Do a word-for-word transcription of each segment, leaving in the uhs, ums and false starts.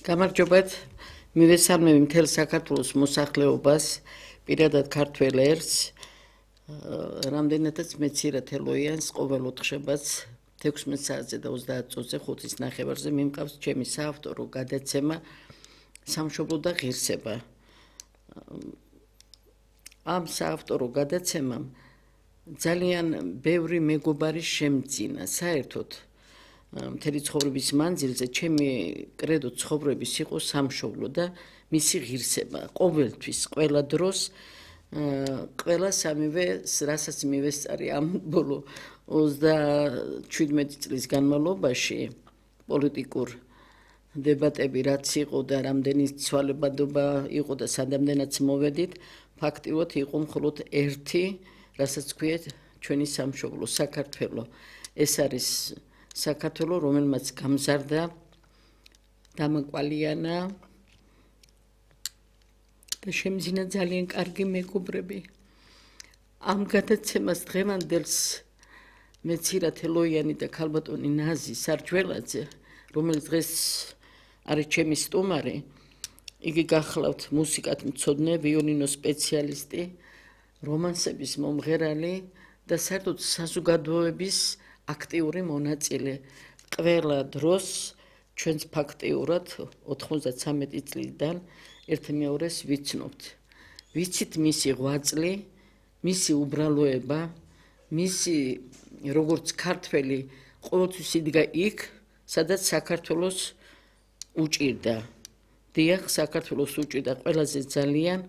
გამარჯობათ, მივესალმები მთელ საქართველოს მოსახლეობას, პირადად ქართველ ერს, რამდენადაც მეცირად ელოიანს ყოველ ოთხშაბათს თექვსმეტ საათზე და ოცდაათ წუთზე ხუთის ნახევარზე მიმყავს ჩემი საავტორო გადაცემა სამშობლო და ღირსება. ამ საავტორო გადაცემამ ძალიან ბევრი მეგობარი შემძინა, საერთოდ მთელი ცხოვრების მანძილზე ჩემი კრედო ცხოვრების იყო სამშობლო და მისი ღირსება. ყოველთვის, ყველა დროს, ყველა სამივე, რასაც მივესწარი ამ ბოლო ოცდაჩვიდმეტი წლის განმავლობაში პოლიტიკურ დებატები რაც იყო და რამდენი ცვალებადობა იყო და სადამდენაც მოვედით, ფაქტიურად იყო მხოლოდ ერთი, რასაც ქვიათ ჩვენი სამშობლო, საქართველო. ეს არის საქართველო, რომელმაც გამზარდა, დამაკვალიანა და შემძინა ძალიან კარგი მეგობრები. ამ გადაცემას დღევანდელს მეცირად ელოიანი და ქალბატონი ნაზი სარჯველაძე, რომელიც დღეს არის ჩემი სტუმარი, იგი გახლავთ მუსიკათ მცოდნე, ვიოლინო სპეციალისტი, რომანსების მომღერალი და საერთოდ საზოგადოების აქტიური მონაწილე. ყველა დროს ჩვენც ფაქტიურად ოთხმოცდათსამეტი წლიდან ერთმეორეს ვიცნობთ. ვიცით მისი ღვაწლი, მისი უბრალოება, მისი როგორც ქართველი ყოველთვის იდგა იქ, სადაც საქართველოს უჭირდა. დიახ, საქართველოს უჭირდა ყველაზე ძალიან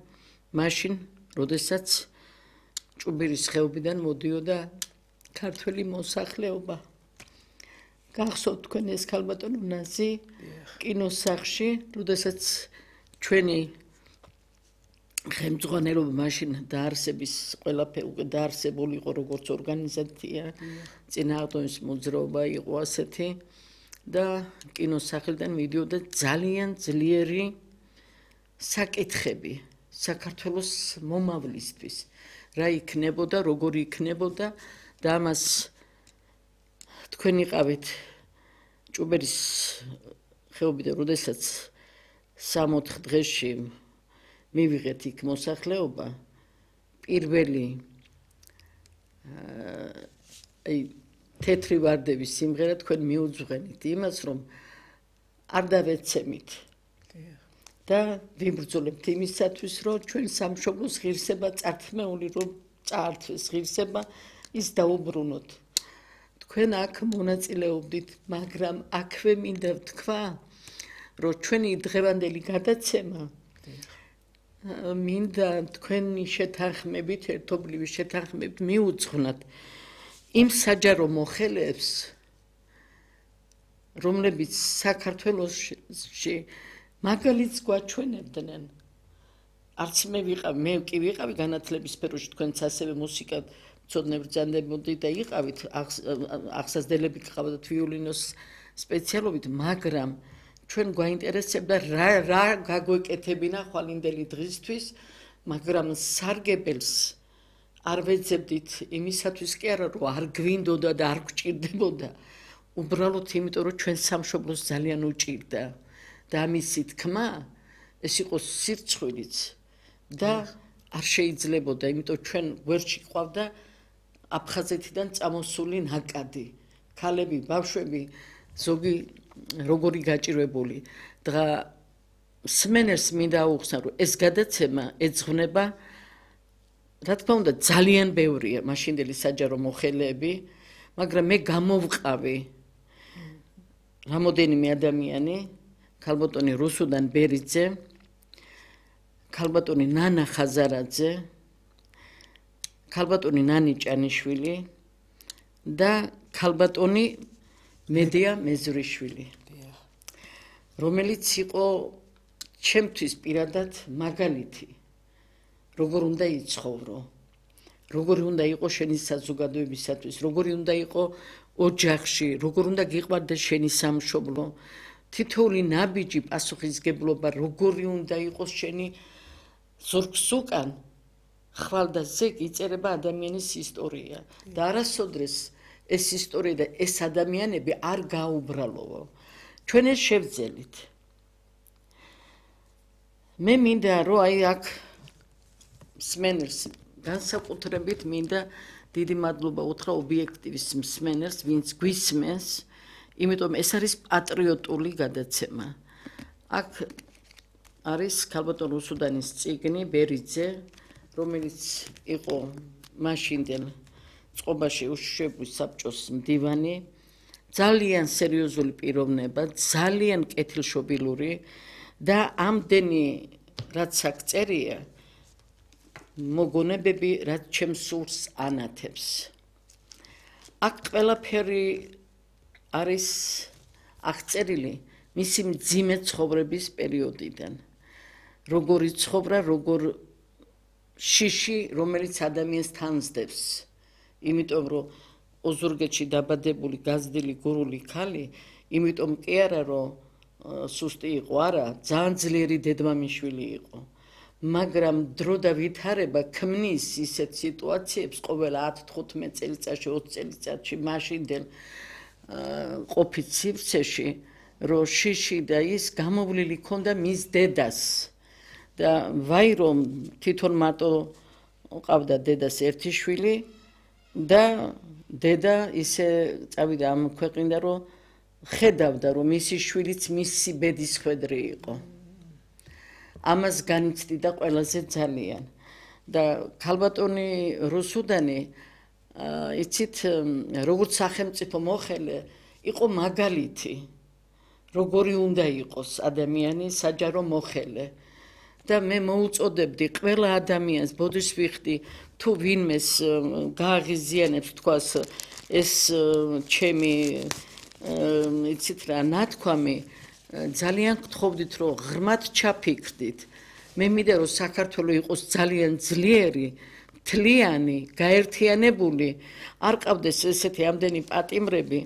მაშინ, როდესაც ჭუბირის ხეობიდან მოდიოდა ქართველი მოსახლეობა. გახსოვთ თქვენ ეს ქალბატონო ნაზი კინოსახლში, როდესაც ჩვენი ხელმძღვანელობა მაშინ დაარსების ყველაფერი დაარსებული იყო როგორც ორგანიზაცია, წინააღმდეგ მოძრაობა იყო ასეთი და კინოსახლიდან მიდიოდა ძალიან ძლიერი საკითხები საქართველოს მომავლისთვის. რა იქნებოდა, როგორი იქნებოდა და ამას თქვენ იყავით ჭუბერის ხეობიდან, როდესაც სამოთხ დღეში მივიღეთ იქ მოსახლეობა, პირველი აი თეთრი ვარდების სიმღერა თქვენ მიუძღვენით იმას, რომ არ დავეცემით და ვიბრძოლებთ იმისათვის, რომ ჩვენ სამშობლოს ღირსება წართმეული რომ წაართვეს ღირსება, ის დაუბრუნოთ. თქვენ აქ მონაწილეობდით, მაგრამ აქვე მინდა ვთქვა, რომ ჩვენი დღევანდელი გადაცემა მინდა თქვენი შეთანხმებით, ერთობლივი შეთანხმებით მიუძღვნათ იმ საჯარო მოხელეებს, რომლებიც საქართველოში მაგალითს გვაჩვენებდნენ. არც მე ვიყავ, მე კი ვიყავი განათლების სფეროში, თქვენც ასევე მუსიკა მცოდნე ბრძანდებოდი და იყავით, აღსაზრდელები გყავდათ ვიოლინოს სპეციალობით, მაგრამ ჩვენ გვაინტერესებდა რა რა გაგვეკეთებინა ხვალინდელი დღისთვის, მაგრამ სარგებელს არ ვეძებდით იმისათვის კი არა, რომ არ გვინდოდა და არ გვჭირდებოდა, უბრალოდ იმიტომ, რომ ჩვენ სამშობლოს ძალიან უჭირდა და ამისი თქმა ეს იყო სირცხვილიც და არ შეიძლებოდა, იმიტომ ჩვენ გვერდში ყავდა აფხაზეთიდან წამოსული ნაკადი, ქალები, ბავშვები, ზოგი როგორი გაჭირვებული. და სმენელს მინდა აუხსნა, რომ ეს გადაცემა ეძღვნება, რა თქმა უნდა, ძალიან ბევრია მაშინდელი საჯარო მოხელეები, მაგრამ მე გამოვყავი რამოდენიმე ადამიანი, ქალბატონი რუსუდან ბერიძე, ქალბატონი ნანა ხაზარაძე, ქალბატონი ნანი ჭანიშვილი და ქალბატონი მედია მეზრიშვილი, რომელიც იყო ჩემთვის პირადად მაგალითი, როგორ უნდა იცხოვრო, როგორი უნდა იყოს შენი საზოგადოებისათვის, როგორი უნდა იყოს ოჯახში, როგორ უნდა გიყვარდეს შენი სამშობლო, თითოეული ნაბიჯი პასუხისგებლობა, როგორი უნდა იყოს შენი ზურგს უკან, ხვალ და ზეგ იწერება ადამიანის ისტორია და არასოდეს ეს ისტორია და ეს ადამიანები არ გაუბრალოო. ჩვენ ეს შევძელით. მე მინდა რომ აი აქ მსმენელს განსაკუთრებით მინდა დიდი მადლობა უთხრა ობიექტივის მსმენელს, ვინც გვისმენს, იმიტომ ეს არის პატრიოტული გადაცემა. აქ არის ქალბატონ რუსუდანის წიგნი ბერიძე, რომელიც იყო მაშინდელ წყობაში უშიშროების საბჭოს მდივანი, ძალიან სერიოზული პიროვნება, ძალიან კეთილშობილური და ამდენი რაც აქ წერია, მოგონებები, რაც ჩემს სურს ანათებს. აქ ყველაფერი არის აღწერილი მისი მძიმე ცხოვრების პერიოდიდან. როგორი ცხოვრა, როგორ შიში, რომელიც ადამიანს თანსდებს. იმიტომ რომ ოზურგეთში დაბადებული გაზრდილი გურული ქალი, იმიტომ კი არა რომ სუსტი იყო, არა, ძალიან ძლიერი დედმამიშვილი იყო. მაგრამ დრო და ვითარება ქმნის ისეთ სიტუაციებს ყოველ ათ თხუთმეტ წელიწადში, ოცი წელიწადში მაშინდელ ყოფით სივრცეში, რომ შიში და ის გამოვლილი ქონდა მის დედას. და ვაი რომ თვითონ მარტო ყავდა დედას ერთი შვილი და დედა ისე წავიდა ამ ქვეყნიდან, რომ ხედავდა, რომ მისი შვილიც მისი ბედის ხვედრი იყო. ამას განიცდიდა ყველაზე ძალიან. და ქალბატონი რუსუდანი, იცით, როგორც სახელმწიფო მოხელე, იყო მაგალითი, როგორი უნდა იყოს ადამიანი საჯარო მოხელე. და მე მოუწოდებდი ყველა ადამიანს, ბოდიშს ვიხდი, თუ ვინმეს გააღიზიანებს, თქვას, ეს ჩემი, იცით რა, ნათქვამი, ძალიან გთხოვდით, რომ ღრმად ჩაფიქრდით. მე მინდა, რომ საქართველოს იყოს ძალიან ძლიერი, მთლიანი, გაერთიანებული, არ ყავდეს ესეთი ამდენი პატიმრები.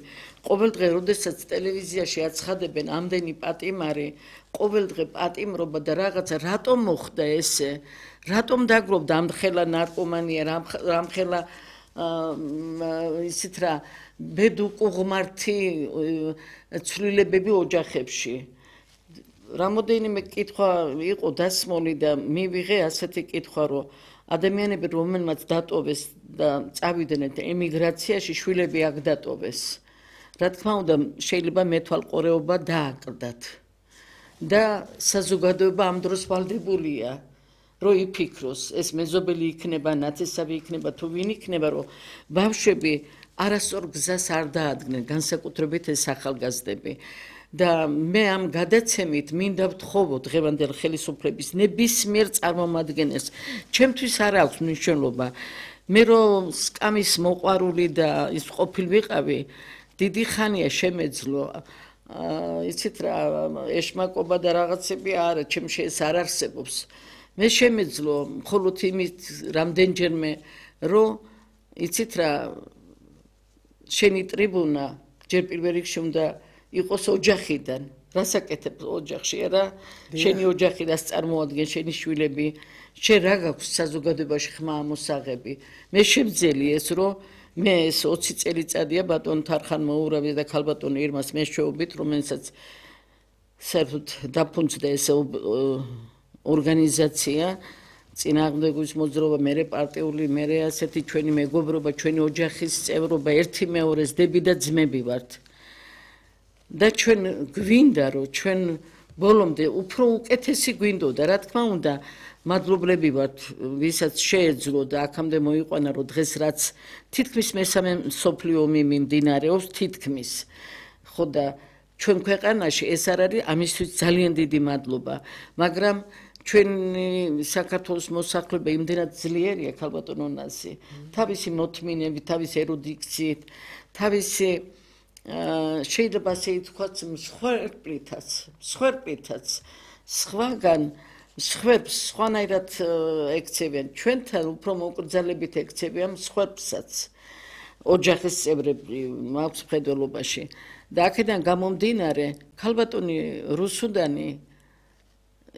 ყოველდღე, როდესაც ტელევიზიაში აცხადებენ ამდენი პატიმარი, ყოველდღე პატიმრობა და რაღაცა, რატომ მოხდა ესე? რატომ დაგროვდა ამხელა ნარკომანია, ამხელა ისეთ რა, ბედუყუღმართი ცვლილებები ოჯახებში. რამოდენიმე კითხვა იყო დასმული და მივიღე ასეთი კითხვა, რომ ადამიანები, რომელმაც დატოვეს და წავიდნენ ემიგრაციაში, შვილები აქ დატოვეს. რა თქმა უნდა, შეიძლება მეთვალყურეობა დააკრდათ. და საზოგადოება ამ დროს ვალდებულია, რომ იფიქროს, ეს მეზობელი იქნება, ნათესავი იქნება, თუ ვინ იქნება, რომ ბავშვები არასწორ გზას არ დაადგნენ, განსაკუთრებით ეს ახალგაზრდები. და მე ამ გადაცემით მინდა ვთხოვო დღევანდელ ხელისუფლების ნებისმიერ წარმომადგენელს, ჩემთვის არ აქვს მნიშვნელობა. მე რომ სკამის მოყვარული და ის ყოფილ ვიყავი, დიდი ხანია შემეძლო, იცით რა, ეშმაკობა და რაღაცები არა, ჩემში ეს არ არსებობს. მე შემეძლო მხოლოდ იმით რამდენჯერმე, რომ იცით რა, შენი ტრიბუნა ჯერ პირველ რიგში უნდა იყოს ოჯახიდან. რასაკეთებ ოჯახში, არა? შენი ოჯახი რას წარმოადგენს, შენი შვილები, შენ რა გაქვს საზოგადოებაში ხმა ამოსაღები. მე შემძელი ეს, რომ მე ეს ოცი წელიწადია ბატონ თარხან მოურავი და ქალბატონი ირმას მეშვეობით, რომელსაც საერთოდ დაფუძნდა ეს ორგანიზაცია, წინააღმდეგობის მოძრაობა, მერე პარტიული, მერე ასეთი ჩვენი მეგობრობა, ჩვენი ოჯახის წევრობა, ერთი მეორეს დები და ძმები ვართ. და ჩვენ გვინდა, რომ ჩვენ ბოლომდე უფრო უკეთესი გვინდოდა, რა თქმა უნდა, მადლობლები ვართ, ვისაც შეეძლო და აქამდე მოიყვანა, რომ დღეს რაც თითქმის მესამე მსოფლიო ომი მიმდინარეობს, თითქმის. ხო და ჩვენ ქვეყანაში ეს არ არის, ამისთვის ძალიან დიდი მადლობა. მაგრამ ჩვენი საქართველოს მოსახლეობა იმდენად ძლიერია, ქალბატონო ნასი, თავისი მოთმინებით, თავისი ერუდიქციით, თავისი შეიძლება ასე ითქვას, მსხვერპლითაც, მსხვერპლითაც, სხვაგან სხვებს სხვანაირად ექცევიან, ჩვენთან უფრო მოკრძალებით ექცევიან მსხვერპლსაც, ოჯახის წევრები მაქვს მხედველობაში. და აქედან გამომდინარე, ქალბატონი რუსუდანი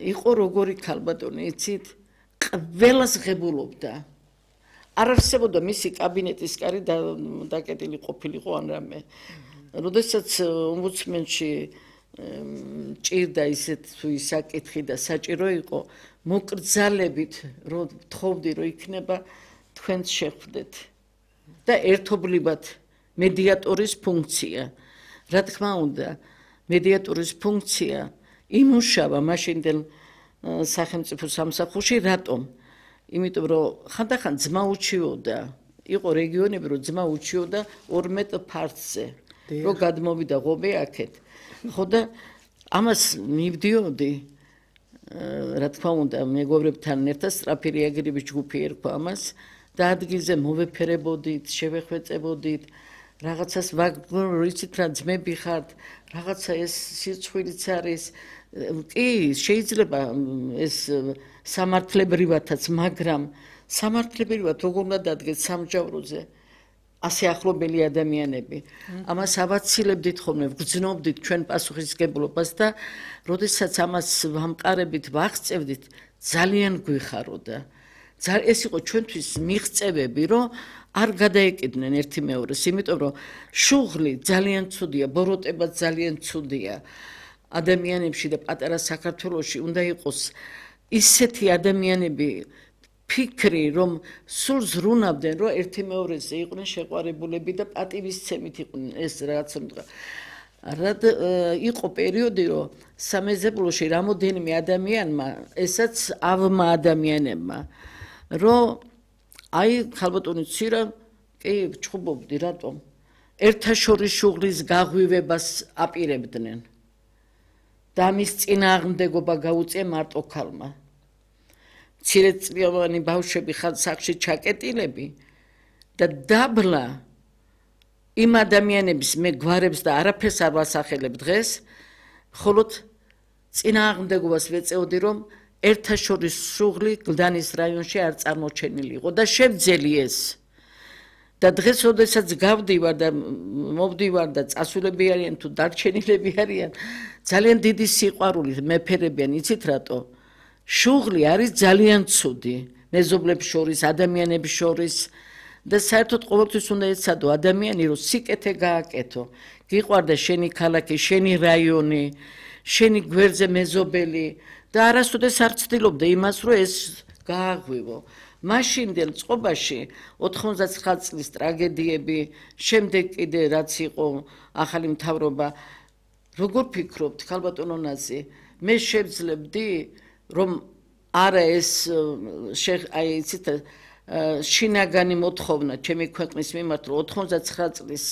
იყო როგორი ქალბატონი, იცით, ყველას ღებულობდა. არ არსებობდა მისი კაბინეტის კარი დაკეტილი ყოფილიყო ან რამე. როდესაც ომბუდსმენში ჭირდა ისეთ თუ ისაკითხი და საჭირო იყო მოკრძალებით რომ თხოვდი რომ იქნება თქვენს შეხვდეთ და ერთობლივად მედიატორის ფუნქცია რა თქმა უნდა მედიატორის ფუნქცია იმუშავა მაშინდელ სახელმწიფო სამსახურში რატომ იმიტომ რომ ხანდახან ძმა უჩიოდა იყო რეგიონები რომ ძმა უჩიოდა ორმეტ ფართზე რომ გადმოვიდა ღობე აქეთ ხო და ამას მივდიოდი რა თქმა უნდა მეგობრებთან ერთად სწრაფი რეაგირების ჯგუფი ერქვა ამას და ადგილზე მოვეფერებოდით შევეხვეწებოდით რაღაცას ვაგრიცით რა ძმები ხართ რაღაცა ეს სიცხვილიც არის კი შეიძლება ეს სამართლებრივათაც მაგრამ სამართლებრივად როგორ უნდა დადგეთ სამგზავროზე ასე ახლობელი ადამიანები ამას ავაცილებდით ხოლმე ვგრძნობდით ჩვენ პასუხისმგებლობას და როდესაც ამას ვამყარებით ვაღწევდით ძალიან გვიხაროდა ეს იყო ჩვენთვის მიღწევები რომ არ გადაეკიდნენ ერთი მეორეს იმიტომ რომ შუღლი ძალიან ცუდია ბოროტება ძალიან ცუდია ადამიანებში და პატარა საქართველოში უნდა იყოს ისეთი ადამიანები ფიქრი რომ სულ ზრუნავდნენ რომ ერთი მეორეზე იყვნენ შეყვარებულები და პატივისცემით იყვნენ ეს რაღაც რა იყო პერიოდი რომ სამეზობლოში რამოდენიმე ადამიანმა ესაც ავმა ადამიანებმა რომ აი ხალბატონი ცირა კი ჩხუბობდი რატომ ერთაშორის შუღლის გაღვივებას აპირებდნენ და მის წინააღმდეგობა გაუწია მარტო ქალმა მცირეწლოვანი ბავშვები სახში ჩაკეტილები და დაბლა იმ ადამიანების მე გვარებს და არაფერს არ ვასახელებ დღეს მხოლოდ წინააღმდეგობას ვეწეოდი რომ ერთაშორის შუღლი გლდანის რაიონში არ წარმოჩენილი იყო და შევძელი ეს და დღეს როდესაც გავდივარ და მოვდივარ და წასულები არიან თუ დარჩენილები არიან ძალიან დიდი სიყვარული მეფერებიან იცით რატო შუღლი არის ძალიან ცუდი მეზობლებს შორის ადამიანებს შორის და საერთოდ ყოველთვის უნდა ეცადო ადამიანი რომ სიკეთე გააკეთო გიყვარდა შენი ქალაქი შენი რაიონი შენი გვერდზე მეზობელი და არასოდეს არ ცდილობდა იმას რომ ეს გააღვივო მაშინდელ წყობაში ოთხმოცდაცხრა წლის ტრაგედიები შემდეგ კიდე რაც იყო ახალი მთავრობა როგორ ფიქრობთ ხალბატონო ნაზი მე შევძლებდი რომ არა ეს აი იცით შინაგანი მოთხოვნა ჩემი ქვეყნის მიმართ რომ ოთხმოცდაცხრა წლის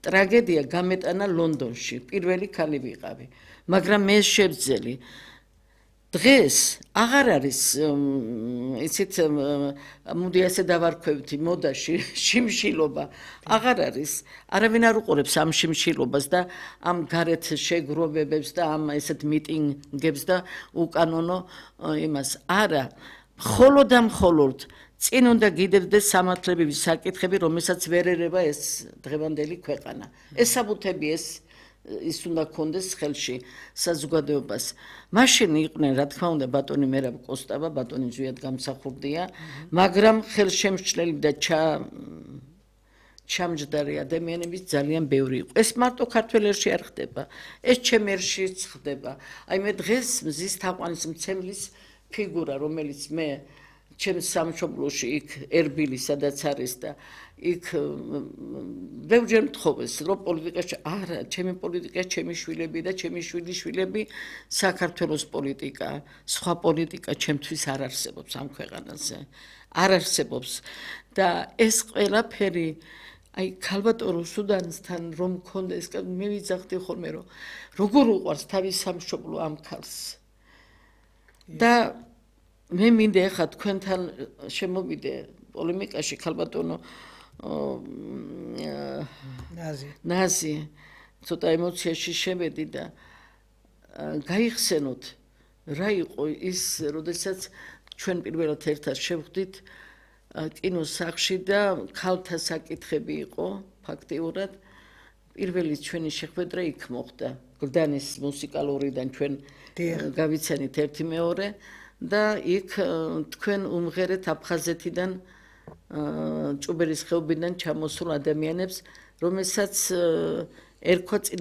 ტრაგედია გამეტანა ლონდონში პირველი ქალი ვიყავი მაგრამ მე შევძელი დღეს აღარ არის იცით მოდი ასე დავარქვევთ მოდაში შიმშილობა აღარ არის არავინ არ უყურებს ამ შიმშილობას და ამ გარეთ შეგროვებებს და ამ ესეთ მიტინგებს და უკანონო იმას არა მხოლოდ და მხოლოდ წინ უნდა გიდევდეს სამართლებრივი საკითხები რომელსაც ვერ ერევა ეს დღევანდელი ქვეყანა ეს საბუთები ეს ის უნდა კონდეს ხელში საზოგადოებას მაშინ იყვნენ რა თქმა უნდა ბატონი მერაბ კოსტავა ბატონი ზვიად გამსახურდია მაგრამ ხელშემშლელი და ჩამჯდარი ადამიანების ძალიან ბევრი იყო ეს მარტო ქართველერში არ ხდება ეს ჩემერშიც ხდება აი მე დღეს მზის თაყვანის მცემლის ფიგურა რომელიც მე ჩემს სამშობლოში იქ ერბილი სადაც არის და იქ ბევრჯერ მთხოვეს რომ პოლიტიკაში არა ჩემი პოლიტიკა ჩემი შვილები და ჩემი შვილის შვილები საქართველოს პოლიტიკა სხვა პოლიტიკა ჩემთვის არ არსებობს ამ ქვეყანაზე არ არსებობს და ეს ყველაფერი აი ქალბატონო სუდანისთან რომ მქონდეს მე ვიძახდი ხოლმე რომ როგორ უყვარს თავის სამშობლო ამ ქალს და მე მინდა ახლა თქვენთან შემოვიდე პოლემიკაში ქალბატონო ნაზი ნაზი ცოტა ემოციაში შევედი და გაიხსენოთ რა იყო ის როდესაც ჩვენ პირველად ერთად შევხვდით კინოსახლში და ქალთა საკითხები იყო ფაქტიურად პირველი ჩვენი შეხვედრა იქ მოხდა გლდანის მუსიკალურიდან ჩვენ გავიცანით ერთი მეორე და იქ თქვენ უმღერეთ აფხაზეთიდან ჭუბერის ხეობიდან ჩამოსულ ადამიანებს რომელსაც ერქვა წინა